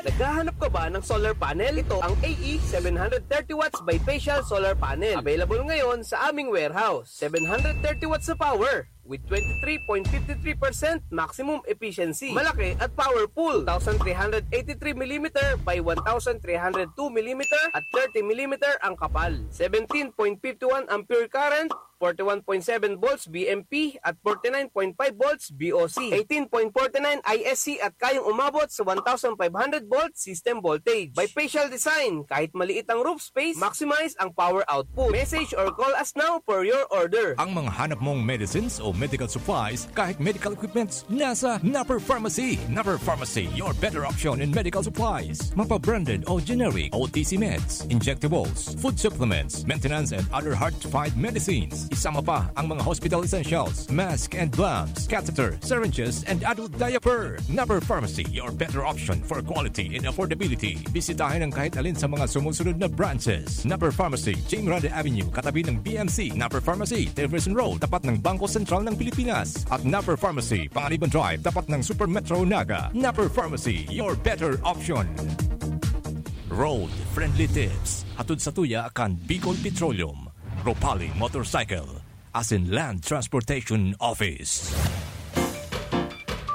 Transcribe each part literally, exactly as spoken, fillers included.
Naghahanap ka ba ng solar panel? Ito ang A E seven hundred thirty watts bifacial solar panel. Available ngayon sa aming warehouse. Seven hundred thirty watts na power with twenty-three point five three percent maximum efficiency. Malaki at powerful. Two thousand three hundred eighty-three millimeter by one thousand three hundred two millimeter at thirty millimeter ang kapal. Seventeen point five one ampere current, forty-one point seven volts V M P at forty-nine point five volts V O C, eighteen point forty-nine I S C at kayang umabot sa one thousand five hundred volt system voltage. Bifacial design, kahit maliit ang roof space, maximize ang power output. Message or call us now for your order. Ang mga hanap mong medicines o medical supplies, kahit medical equipments, nasa Napper Pharmacy. Napper Pharmacy, your better option in medical supplies. Mapa-branded o generic, O T C meds, injectables, food supplements, maintenance and other hard-to-find medicines. Isama pa ang mga hospital essentials, mask and gloves, catheter, syringes, and adult diaper. Napper Pharmacy, your better option for quality and affordability. Bisitahin ang kahit alin sa mga sumusunod na branches. Napper Pharmacy, Jing Grande Avenue, katabi ng B M C. Napper Pharmacy, Jefferson Road, tapat ng Bangko Sentral ng Pilipinas. At Napper Pharmacy, Panganiban Drive, tapat ng Super Metro Naga. Napper Pharmacy, your better option. Road Friendly Tips, hatod sa tuya kan Bicol Petroleum, Ropali Motorcycle, asin Land Transportation Office.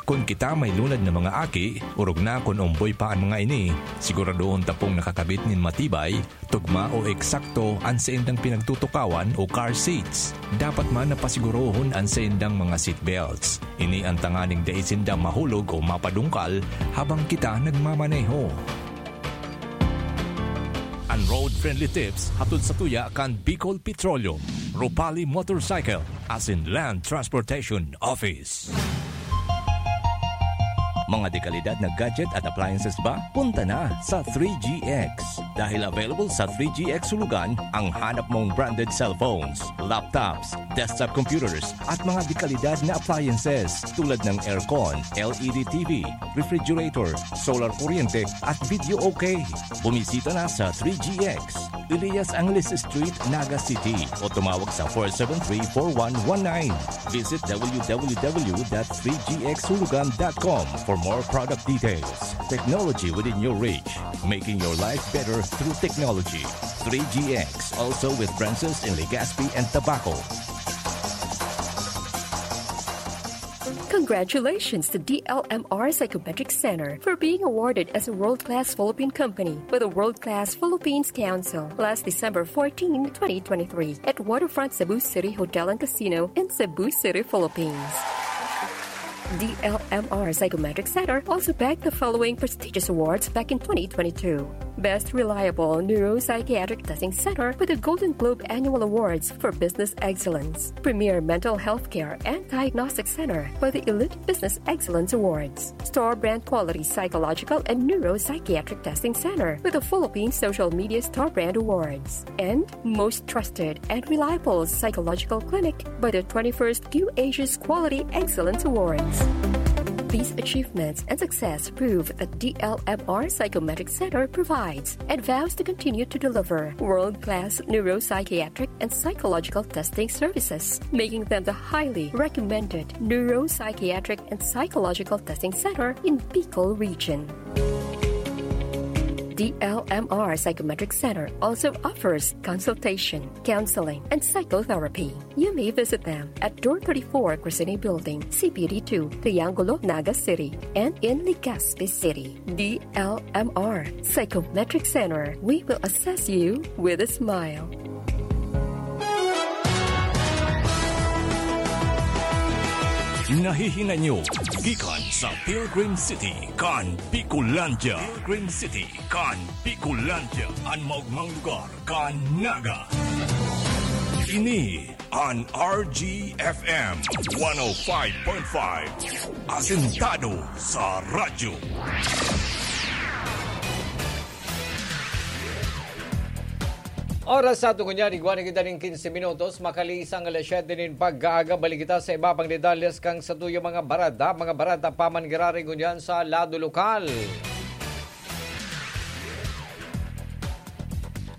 Kun kita may lunad na mga aki, orog na kun omboy pa an mga ini, siguradohon ta pong nakakabit nin matibay, tugma o eksakto an saindang pinagtutukawan o car seats. Dapat man na pasigurohon an saindang mga seat belts. Ini an tanganing dai sinda mahulog o mapadungkal habang kita nagmamaneho. An Road Friendly Tips hatod sa tuya kan Bicol Petroleum, Ropali Motorcycle, asin Land Transportation Office. Mga dekalidad na gadget at appliances ba? Punta na sa three G X. Dahil available sa three G X Hulugan ang hanap mong branded cellphones, laptops, desktop computers, at mga dekalidad na appliances tulad ng aircon, L E D T V, refrigerator, solar kuryente, at video okay. Bumisita na sa three G X, Elias Angeles Street, Naga City, o tumawag sa four seven three, four one one nine. Visit W W W dot three G X hulugan dot com for more product details. Technology within your reach, making your life better through technology. Three G X, also with branches in Legazpi and Tabaco. Congratulations to D L M R Psychometric Center for being awarded as a world-class Philippine company by the World Class Philippines Council last December fourteen, twenty twenty-three, at Waterfront Cebu City Hotel and Casino in Cebu City, Philippines. D L M R Psychometric Center also bagged the following prestigious awards back in twenty twenty-two: Best Reliable Neuropsychiatric Testing Center with the Golden Globe Annual Awards for Business Excellence, Premier Mental Health Care and Diagnostic Center by the Elite Business Excellence Awards, Star Brand Quality Psychological and Neuropsychiatric Testing Center with the Philippine Social Media Star Brand Awards, and Most Trusted and Reliable Psychological Clinic by the twenty-first Q Asia's Quality Excellence Awards. These achievements and success prove that D L M R Psychometric Center provides and vows to continue to deliver world-class neuropsychiatric and psychological testing services, making them the highly recommended neuropsychiatric and psychological testing center in Bicol Region. D L M R Psychometric Center also offers consultation, counseling, and psychotherapy. You may visit them at Door thirty-four, Crescene Building, C P D two, Triangulo, Naga City, and in Legazpi City. D L M R Psychometric Center, we will assess you with a smile. Nahihinanyo gikan sa Pilgrim City kan Bicolandia. Pilgrim City kan Bicolandia, an maogmang lugar kan Naga. Ini an R G F M one oh five point five, asentado sa radyo. Oras sa aton ngunyan, igwa na kita nin quince minutos, makaliis ang alas siyete nin pag-aaga. Balik kita sa iba pang detalles kan satuyang mga bareta, mga bareta pa man giraray ngunyan sa lado lokal.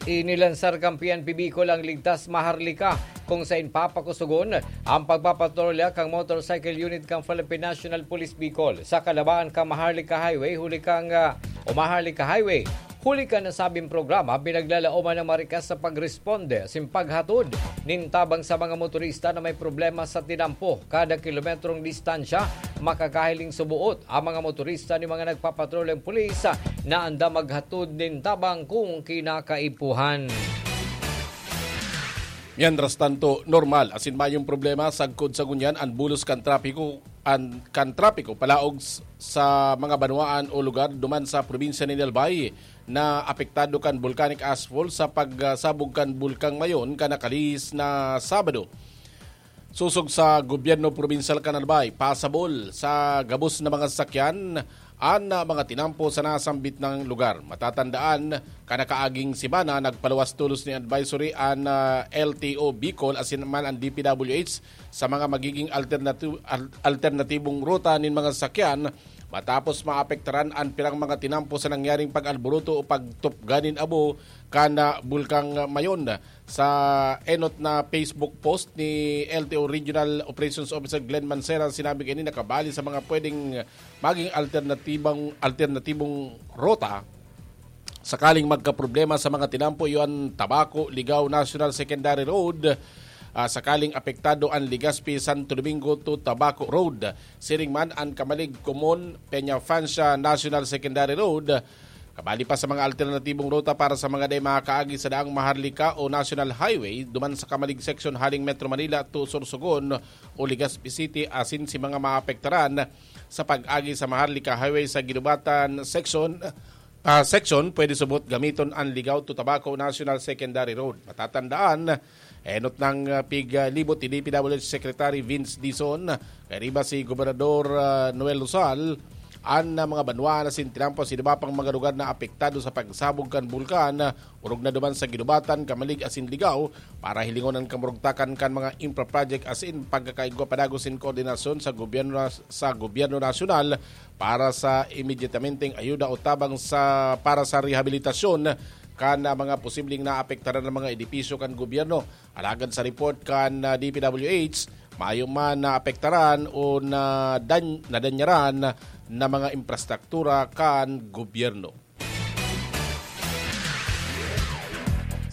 Inilansar kan P N P Bicol ang Ligtas Maharlika, kung saen papakusogon ang pagpapatrolya kan motorcycle unit kan Philippine National Police Bicol sa kalabaan kan Maharlika Highway huli kan, ah, o Maharlika Highway. Huli kan nasabing programa, pinaglalaoman ng Marikas sa pagresponde asin paghatod nin tabang sa mga motorista na may problema sa tinampo. Kada kilometrong distansya, makakahiling suboot ang mga motorista ni mga nagpapatroleng pulis na andam maghatod nin tabang kung kinakaipuhan. Mientras tanto, normal asin mayong problema sagkod sa ngunyan an bulos kan trapiko, an, kan trapiko palaog s-, sa mga banwaan o lugar duman sa probinsya nin Albay na apektado kan volcanic ashfall sa pagsabog kan Bulkang Mayon kan nakalihis na Sabado. Sosog sa gobyerno probinsyal kan Albay, pasabol sa gabos na mga sasakyan an, ah, mga tinampo sa nasambit na lugar. Matatandaan, kan nakaaging semana, nagpaluwas tolos nin advisory an, ah, L T O Bicol asin man an D P W H sa mga magiging alternati-, al-, alternatibong ruta nin mga sasakyan matapos maapektaran an pirang mga tinampo sa nangyaring pag-alboroto o pagtupga nin abo kan, ah, Bulkang Mayon. Sa enot na Facebook post ni L T O Regional Operations Officer Glenn Mancera, sinabi kaini na kabali sa mga pwedeng maging alternatibang, alternatibong rota sakaling magkaproblema sa mga tinampo, iyo an Tabaco, Ligao National Secondary Road, ah, sakaling apektado an Legazpi Santo Domingo to Tabaco Road. Siring man an Camalig, Comon, Peña Francia National Secondary Road. Kabali pa sa mga alternatibong ruta para sa mga dai makakaagi sa daang Maharlika o National Highway duman sa Camalig Section haling Metro Manila to Sorsogon o Legazpi City, asin si mga maapektaran sa pag-agi sa Maharlika Highway sa Guinobatan Section, ah, section, pwede subot gamiton an Ligao to Tabaco National Secondary Road. Matatandaan, enot nang, ah, pig, ah, libot ni D P W H Secretary Vince Dizon, kairiba si Gobernador, ah, Noel Rosal, an, ah, mga banwaan asin tinampo asin iba pang mga lugar na apektado sa pagsabog kan bulkan, ah, orog na duman sa Guinobatan, Camalig asin Ligao, para hilingon an kamurugtakan kan mga infra project asin pagkakaigwa padagos nin koordinasyon sa gobyerno nas-, sa gobyerno nasyonal para sa immediatamenteng ayuda o tabang sa, para sa rehabilitasyon kan, ah, mga posibleng naapektaran na mga edipisyo kan gobyerno. Alagad sa report kan, ah, D P W H, mayo man naapektaran o nadan-, nadanyaran na mga infrastruktura kan gobyerno.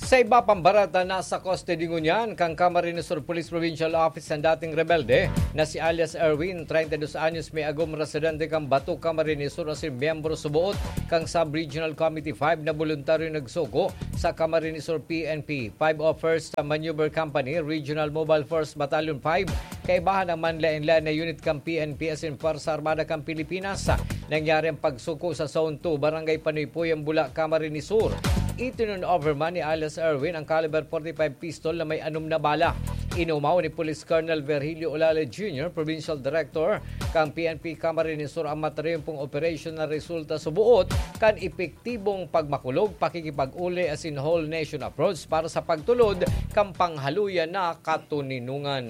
Sa iba pang bareta, nasa kustodiya ngunyan kan Camarines Sur Police Provincial Office an dating rebelde na si alias Erwin, treinta y dos anyos, may agom, residente kan Bato, Camarines Sur, asin miyembro suboot kan Sub-Regional Committee five na boluntaryo nagsugo sa Camarines Sur P N P. Five of First Maneuver Company, Regional Mobile Force Battalion five, kaibahan ang manlaen-laen na unit kan P N P asin Pwersa Armada kan Pilipinas. Nangyari ang pagsuko sa Zone two, Barangay Panuypuyan, Bula, Camarines Sur. Itinurn over man ni alias Erwin ang caliber forty-five pistol na may anom na bala. Inumaw ni Police Colonel Virgilio Olale Junior, Provincial Director kan P N P Camarines Sur, ang matriumpong operasyon na resulta suboot kan epektibong pagmakulog, pakikipag-uli asin whole nation approach para sa pagtulod kan panghaluyan na katoninongan.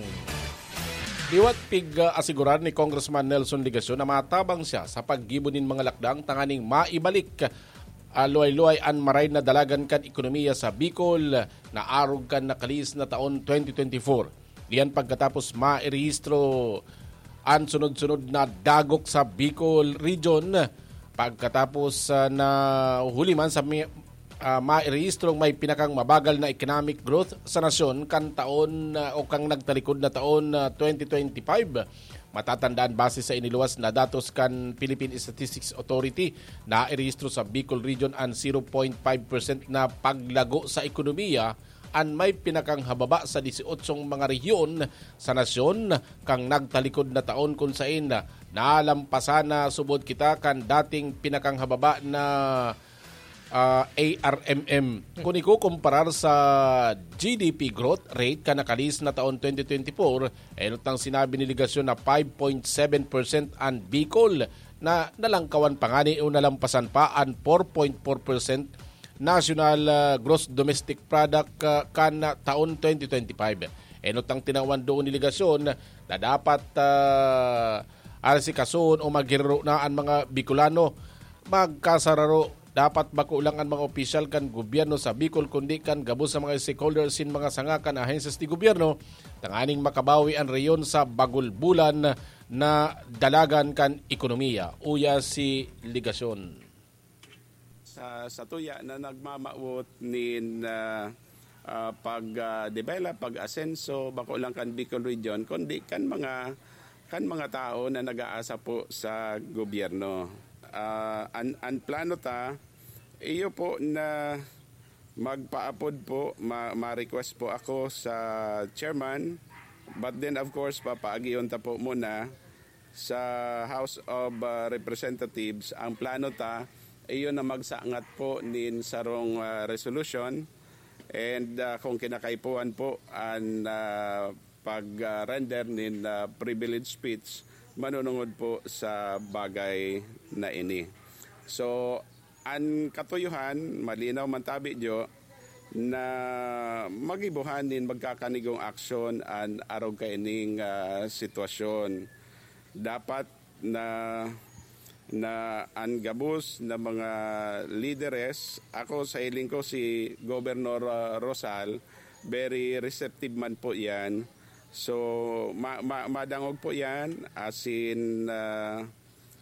Liwat pig-asigurar ni Congressman Nelson Legacion na matabang siya sa paggibo nin mga lakdang tanganing maibalik, ah, luway-luway an maray na dalagan kan ekonomiya sa Bicol na arog kan nakalihis na taon twenty twenty-four. Diyan pagkatapos mairehistro an sunod-sunod na dagok sa Bicol Region, pagkatapos, ah, na huli man sa mi-, ah, mairehistrong may pinakang mabagal na economic growth sa nasyon kan taon, ah, o kan nagtalikod na taon, ah, twenty twenty-five. Matatandaan, base sa iniluwas na datos kan Philippine Statistics Authority, nairehistro sa Bicol Region an zero point five percent na paglago sa ekonomiya, an may pinakang hababa sa disyotsyong mga rehiyon sa nasyon kan nagtalikod na taon, kun saen nalampasan na subod kita kan dating pinakang hababa na, ah, A R M M. Kun ikukumparar sa G D P growth rate kan nakalihis na taon twenty twenty-four, enot nang sinabi ni Legacion na five point seven percent an Bicol na nalangkawan pa ngani o nalampasan pa an four point four percent national, ah, gross domestic product, ah, kan taon twenty twenty-five. Enot ang tinawan doon ni Legacion na dapat, ah, arsikason o maghiraro na an mga Bicolano. Magkasararo, dapat bako lang an mga opisyal kan gobyerno sa Bicol, kundi kan gabos sa mga stakeholders sin mga sanga kan ahensyas ni gobyerno, tanganing makabawi an rehiyon sa bagulbulan na dalagan kan ekonomiya, uya si Legacion. sa, sa tuya na nagmamawot nin ah, ah, pag ah, develop, pag-asenso, bako lang kan Bicol Region, kundi kan mga kan mga tao na nag-aasa po sa gobyerno. Ah, an, an plano ta, iyo po na magpaapod po, ma, ma-request po ako sa chairman, but then of course, papaagion ta po muna sa House of ah, Representatives. Ang plano ta, iyo na magsangat po nin sarong ah, resolution, and ah, kung kinakaipuhan po an ah, pag-render nin ah, privilege speech, manunungod po sa bagay na ini. So, an katuyohan, malinaw man tabi diyo, na magibuhan nin magkakanigong aksyon an arog kaining ah, sitwasyon. Dapat na, na an gabos na mga lideres, ako sa hiling ko si Governor ah, Rosal, very receptive man po yan. So, ma, ma, madangog po yan, as in, ah,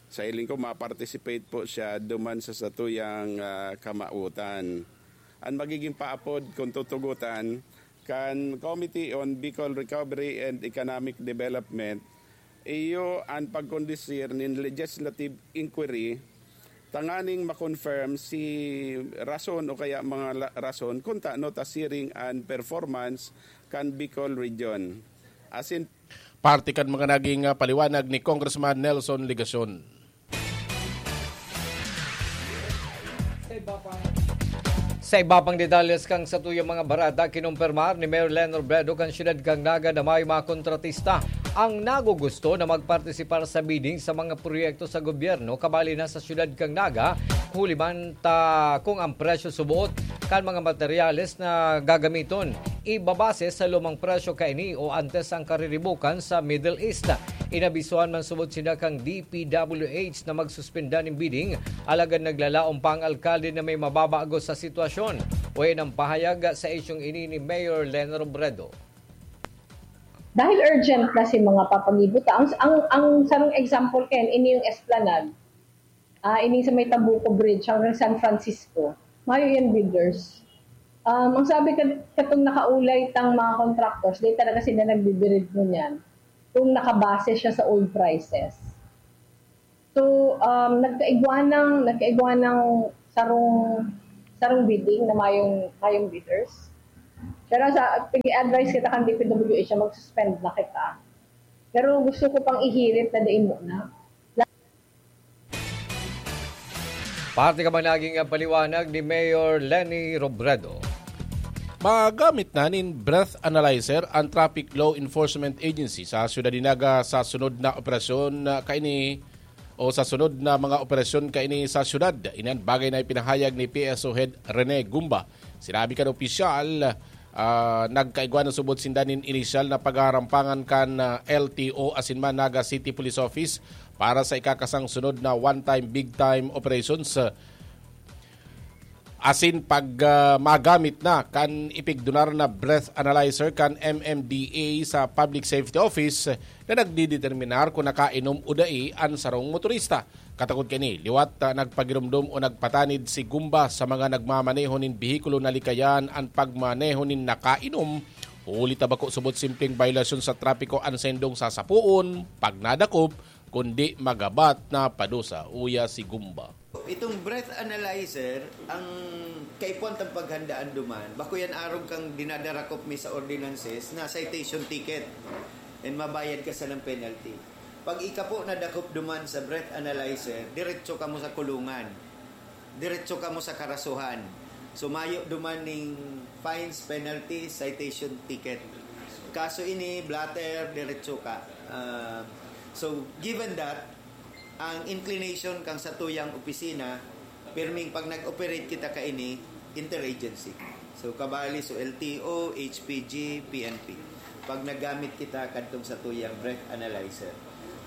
sa hiling ko, ma-participate po siya duman sa satuyang ah, kamautan. An magiging paapod, kung tutugutan, kan Committee on Bicol Recovery and Economic Development, iyo an pagkondusir nin legislative inquiry tanganing ma-confirm si rason o kaya mga la, rason kung tano ta siring an performance kan Bicol Region. Asin Parte kan mga naging ah, paliwanag ni Congressman Nelson Legacion. Sa iba pang detalles kan satuyang mga barata, kinumpirmar ni Mayor Len Robredo kan siyudad kan Naga na may mga kontratista ang nagugusto na magpartisipar sa bidding sa mga proyekto sa gobyerno kabali na sa siyudad kan Naga, huli man ta kung ang presyo suboot kan mga materyales na gagamiton ibabase sa lumang presyo kaini o antes ang kariribukan sa Middle East. Inabisuhan man subot sinda kan D P W H na magsuspenda nin bidding, alagad naglalaom pa ang alkalde na may mababago sa sitwasyon. Wayan ang pahayag sa isyong ini ni Mayor Len Robredo. Dahil urgent na si mga papagibota. Ang, ang, ang sarong example, Ken, ini yung Esplanade. Ah, ini sa may Tabuco Bridge hanggang San Francisco. Mayo yan bidders. Um, ang sabi ka, katong nakaulay tang mga contractors, di talaga sila nagbibirid mo niyan kung nakabase siya sa old prices. So, um, nagkaigwa ng, nagkaigwa ng sarong, sarong bidding na mayong, mayong bidders. Pero sa, pag-advise kita kan D P W H na mag-suspend na kita. Pero gusto ko pang ihirit na dai muna. Parte ka man naging paliwanag ni Mayor Leni Robredo. Magamit na nin breath analyzer ang Traffic Law Enforcement Agency sa Siyudad ni Naga sa sunod na operasyon kaini o sa sunod na mga operasyon kaini sa siyudad. Inan bagay na ipinahayag ni P S O Head Rene Gumba. Sinabi kan opisyal, ah, nagkaigwa na subot sinda nin inisyal na pagarampangan kan ah, L T O asin man Naga City Police Office para sa ikakasang sunod na one-time big-time operations. Asin pag ah, magamit na kan ipigdunar na breath analyzer kan M M D A sa Public Safety Office na nagdideterminar kung nakainom o dai an sarong motorista. Katakod kani, liwat ah, nagpagiromdom o nagpatanid si Gumba sa mga nagmamaneho nin behikulo na likayan an pagmaneho nin nakainom, huli ta bako subot simpleng bayolasyon sa trapiko an sendong sasapoon, pag nadakop, kundi magabat na padusa, uya si Gumba. Itong breath analyzer, ang kaipuhan tang paghandaan duman, bako yan arog kang dinadarakop mi sa ordinances na citation ticket and mabayad ka sa ng penalty. Pag ika po nadakop duman sa breath analyzer, diretso kamo sa kulungan. Diretso kamo sa karasuhan. So mayo duman ning fines, penalties, citation ticket. Kaso ini, blotter, diretso ka. Ah, so given that, ang inclination kang satuyang opisina, pirming pag nag-operate kita kaini, interagency. So kabali, so L T O, H P G, P N P. Pag nagamit kita kadtong satuyang breath analyzer.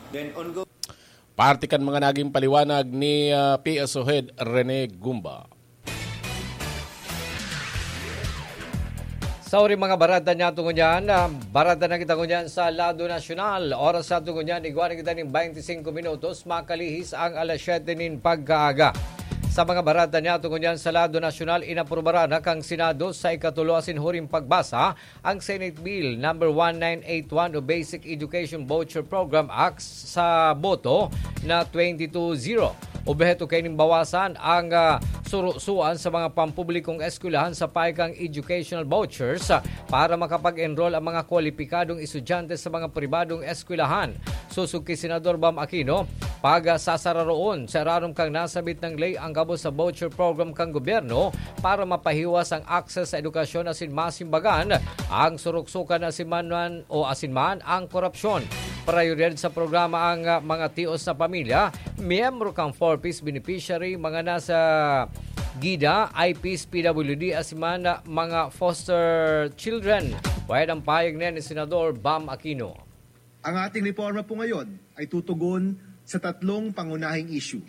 Then ongoing. Parte kan mga naging paliwanag ni ah, P S O Head Rene Gumba. Sauri mga barata niya tungo niyan, ah, barata na kita ngunyan sa lado nasyonal. Oras sa tungo niyan, igwa na kita nin twenty-five minutos, makalihis ang alas siyete nin pagkaaga. Sa mga bareta niyato ngunyan sa lado nasyonal, inaprubaran na kan Senado sa ikatulo asin huring pagbasa ang Senate Bill number one nine eight one o Basic Education Voucher Program Act sa boto na twenty-two zero. Obheto kaining bawasan ang, ah, surusuan sa mga pampublikong eskwelahan sa payo kan educational vouchers, ah, para makapag-enroll ang mga kwalipikadong estudyante sa mga pribadong eskwelahan. Sosog ki Senador Bam Aquino, pagsasararoon sa irarom kan nasabit na ley ang gabos sa voucher program kan gobyerno para mapahiwas ang access sa edukasyon asin masimbagan ang suruksukan asin man o asin man ang korupsyon. Prayoridad sa programa ang, ah, mga tios na pamilya, miyembro kan four Ps beneficiary, mga nasa GIDA, I Ps, P W D, asin man, ah, mga foster children. Pwede ang payag na ni Senador Bam Aquino. Ang ating reforma po ngayon ay tutugon sa tatlong pangunahing issue: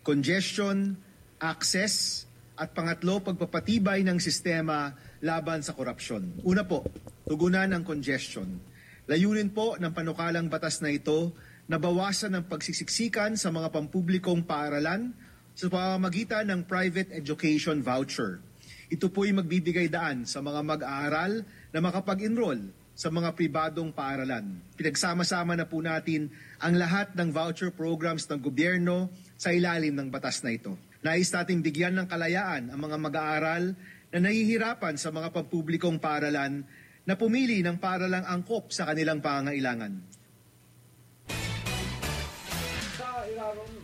congestion, access, at pangatlo, pagpapatibay ng sistema laban sa korupsyon. Una po, tugunan ang congestion. Layunin po ng panukalang batas na ito na bawasan ang pagsisiksikan sa mga pampublikong paaralan sa pamamagitan ng private education voucher. Ito po'y magbibigay daan sa mga mag-aaral na makapag-enroll sa mga pribadong paaralan. Pinagsama-sama na po natin ang lahat ng voucher programs ng gobyerno sa ilalim ng batas na ito. Nais nating bigyan ng kalayaan ang mga mag-aaral na nahihirapan sa mga pampublikong paaralan na pumili ng paaralang angkop sa kanilang pangangailangan.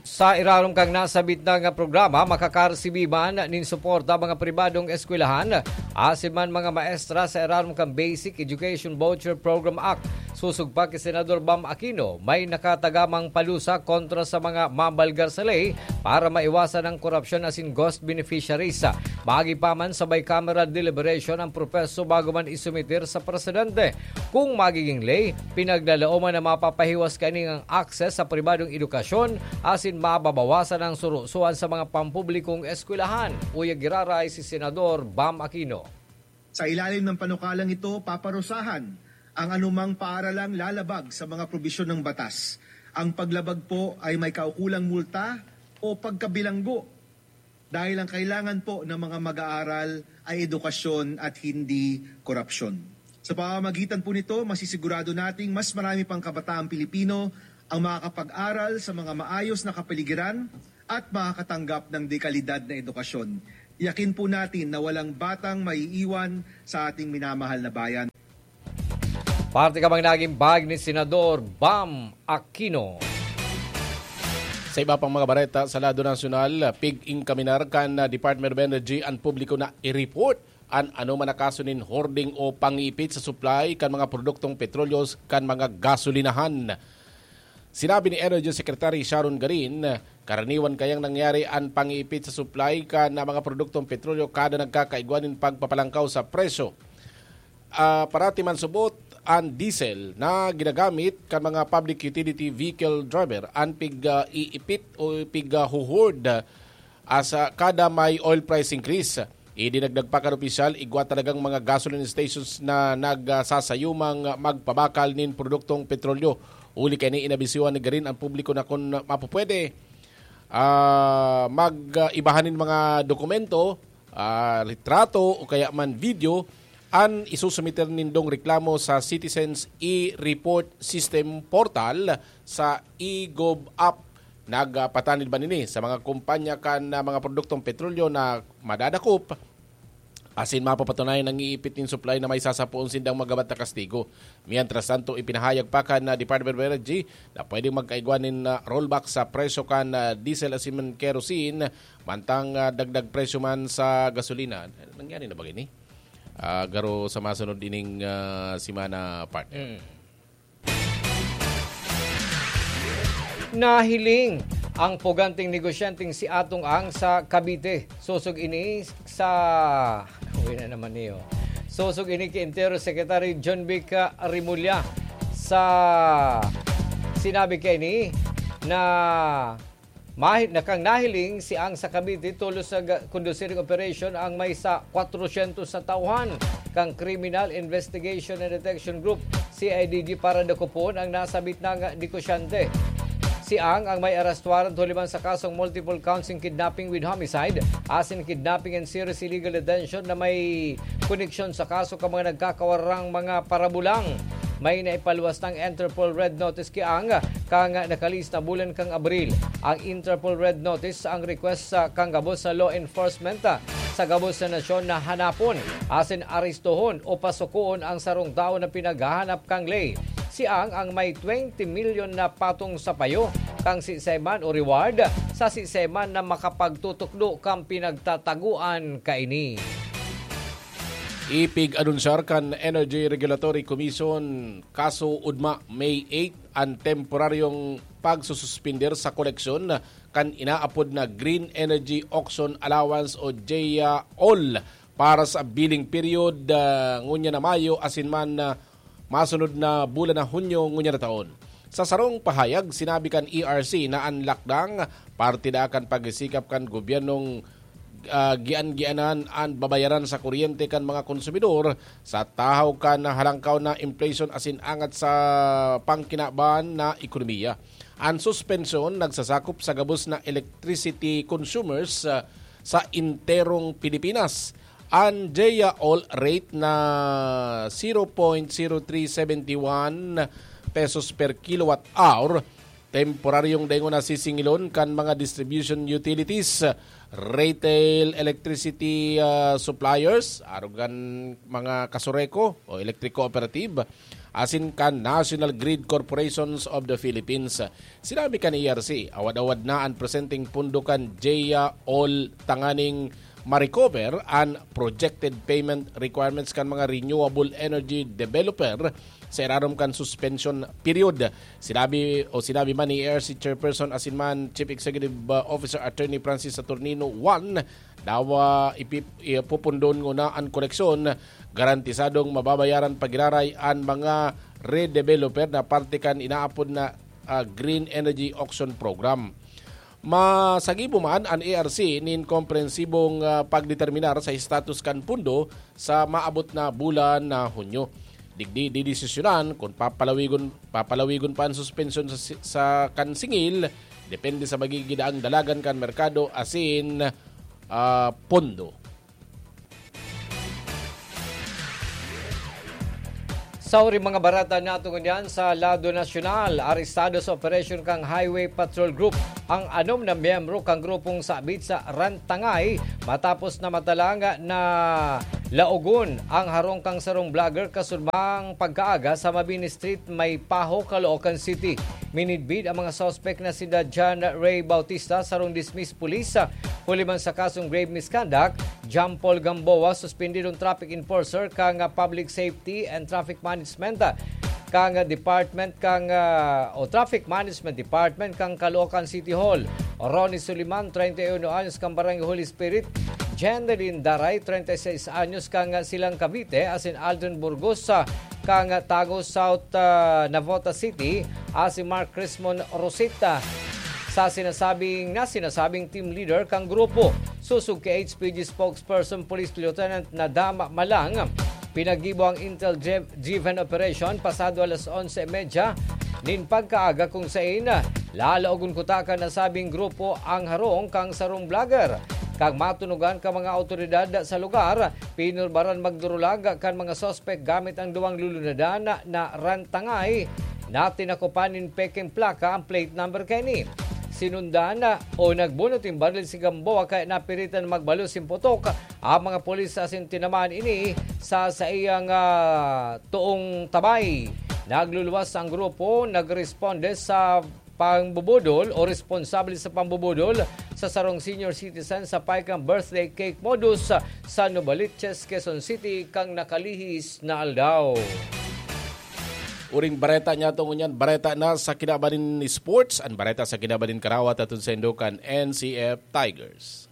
Sa irarom kan nasabit na nga programa, makakaresibi man nin suporta mga pribadong eskwelahan, asin man mga maestra sa irarom kan Basic Education Voucher Program Act. Sosog pa ki Senador Bam Aquino, may nakatagamang palusa kontra sa mga mabalga sa ley para maiwasan ang korupsyon asin ghost beneficiaries. Maagi pa man sa bicameral deliberation ang proseso bago man isumiter sa presidente. Kung magiging ley, pinaglalaoman na mapapahiwas kaini ang access sa pribadong edukasyon asin mababawasan ang surusuan sa mga pampublikong eskwelahan. Uya giraray si Senador Bam Aquino. Sa ilalim ng panukalang ito, paparusahan ang anumang paaralang lalabag sa mga probisyon ng batas. Ang paglabag po ay may kaukulang multa o pagkabilanggo, dahil ang kailangan po ng mga mag-aaral ay edukasyon at hindi korupsyon. Sa pamamagitan po nito, masisigurado nating mas marami pang kabataang Pilipino ang makakapag-aral sa mga maayos na kapaligiran at makakatanggap ng dekalidad na edukasyon. Yakin po natin na walang batang maiiwan sa ating minamahal na bayan. Parte ka bang naging bag ni Senador Bam Aquino? Sa iba pang mga bareta sa lado nasyonal, pig-inkaminar kan Department of Energy an publiko na i-report an anoman na kaso nin hoarding o pangipit sa supply kan mga produktong petrolyo kan mga gasolinahan. Sinabi ni Energy Secretary Sharon Garin, karaniwan kayang nangyari an pangipit sa supply kan mga produktong petrolyo kada nagkakaigwa nin pagpapalangkaw sa presyo. Ah, parati man subot an diesel na ginagamit kan mga public utility vehicle driver an pig, ah, iipit o pig, ah, huhord, ah, sa kada may oil price increase. Idinagdag pa kan opisyal, igwa talagang mga gasoline stations na nagsasayumang magpabakal nin produktong petrolyo. Huli kaini, inabisuhan ni Garin ang publiko na kun mapupwede, ah, mag, ah, ibahan nin mga dokumento, ah, litrato o kaya man video an isusumiter nindong reklamo sa Citizens e-Report System portal sa e-Gov app. Nagpatanid man ini sa mga kumpanya kan, ah, mga produktong petrolyo na madadakop asin mapapatunayan ang iipit nin supply na may sasapoon sindang magabat na kastigo. Mientras tanto, ipinahayag pa kan, ah, Department of Energy na pwedeng magkaigwa nin, ah, rollback sa presyo kan, ah, diesel asin kerosene, mantang, ah, dagdag presyo man sa gasolina. Nangyari na ba ini? Ah, garo sa masunod ining, ah, semana, partner. Mm. Nahiling ang puganting negosyanteng si Atong Ang sa Cavite. Sosog ini sa, uwi na naman niyo. Sosog ini ki Interior Secretary John Vic Remulla sa sinabi kaini na mahi-, na kan nahiling si Ang sa Cavite, tolos nag-, conducting operation ang may sa kwatrosyentos na tauhan kan Criminal Investigation and Detection Group, C I D G, para dakopon ang nasabit na negosyante. Si Ang ang may arrest warrant huli man sa kasong multiple counts in kidnapping with homicide, asin kidnapping and serious illegal detention na may koneksyon sa kaso kan mga nagkakawarang mga parabulang. May naipaluwas ng Interpol Red Notice ki Ang kan nakalihis na bulan kan Abril. Ang Interpol Red Notice ang request sa kan gabos na law enforcement sa gabos na nasyon na hanapon asin arestohon o pasukoon ang sarong tawo na pinaghahanap kan ley. Si Ang ang may twenty milyon na patong sa payo kan siisay man o reward sa siisay man na makapagtutukdo kan pinagtatagoan kaini. Ipig-anunsyar kan Energy Regulatory Commission, kaso ugma May eight, an temporaryong pagsususpender sa koleksyon kan inaapod na Green Energy Auction Allowance o GEA All para sa billing period, ah, ngunyan na Mayo asin man, ah, masunod na bulan na Hunyo ngunyan na taon. Sa sarong pahayag, sinabi kan E R C na an lakdang parte na kan pagsisikap kan gobyernong, ah, gian-gianan an babayaran sa kuryente kan mga konsumidor sa tahaw kan halangkaw na inflation asin angat sa pangkinaban na ekonomiya. An suspensyon nagsasakop sa gabos na electricity consumers, ah, sa enterong Pilipinas. An GEA All rate na zero point zero three seven one pesos per kilowatt hour, temporaryong daingon na sisingilon kan mga distribution utilities, retail electricity, ah, suppliers, arog kan mga kasureko o electric cooperative, asin kan National Grid Corporations of the Philippines. Sinabi kan E R C, awad-awad na an presenteng pondo kan GEA All tanganing ma-recover an projected payment requirements kan mga renewable energy developer sa irarom kan suspension period. Sinabi o sinabi man ni E R C Chairperson asin man Chief Executive, uh, Officer Attorney Francis Saturnino one, dawa ipi-, ipupundon nguna an koleksyon, garantisadong mababayaran pagiraray an mga redeveloper na parte kan inaapod na, ah, Green Energy Auction Program. Masagibo man an E R C nin komprehensibong, ah, pagdeterminar sa estatus kan pondo sa maabot na bulan na Hunyo. Digdi didesisyonan kun papalawigon, papalawigon pa an suspensyon sa si-, sa kan singil, depende sa magigidaang dalagan kan merkado asin, ah, pondo. Sa huring mga bareta nato ngunyan sa lado nasyonal, arestado sa operasyon kan Highway Patrol Group ang anom na miyembro kan grupong sabit sa Rantangay matapos na matalang na laogon ang harong kan sarong vlogger kasunbang pagkaaga sa Mabini Street, Maypaho, Caloocan City. Minidbid ang mga suspek na sina John Ray Bautista, sarong dismissed police, huli man sa kasong grave misconduct, John Paul Gamboa, suspendidong traffic enforcer kan Public Safety and Traffic Management kan Department kan, ah, o Traffic Management Department kan Caloocan City Hall, Ronnie Suliman, treinta y uno anyos, kan Barangay Holy Spirit, Jendelyn Daray, treinta y seis anyos, kan Silang Cavite, asin Aldrin Burgos, ah, kan Tago South, ah, Navotas City, asin Mark Crismon Rosita. Sa sinasabing, na sinasabing team leader kan grupo, sosog ki H P G spokesperson Police Lieutenant Nadama Malang, pinaggibo ang intel-driven operation pasado alas onse y media nin pagkaaga, kung sain lalaogon kuta kan nasabing grupo ang harong kan sarong vlogger. Kan matunugan kan mga awtoridad sa lugar, pinurbaran magdurulag kan mga suspek gamit ang duwang lulunadan na Rantangay na tinakopan nin pekeng plaka ang plate number kaini. Sinundan o nagbunot nin baril si Gamboa kaya napiritan magbalos nin putok ang mga pulis asin tinamaan ini sa saiyang, ah, toong tabay. Nagluluwas ang grupo, nagresponde sa pangbubudol o responsable sa pangbubudol sa sarong senior citizen sa Paikang Birthday Cake Modus sa Novaliches, Quezon City, kan nakalihis na aldaw. Uring bareta niyato ngunyan, bareta na sa kinaban nin sports, an bareta sa kinaban nin karawat aton sa Indokan N C F Tigers.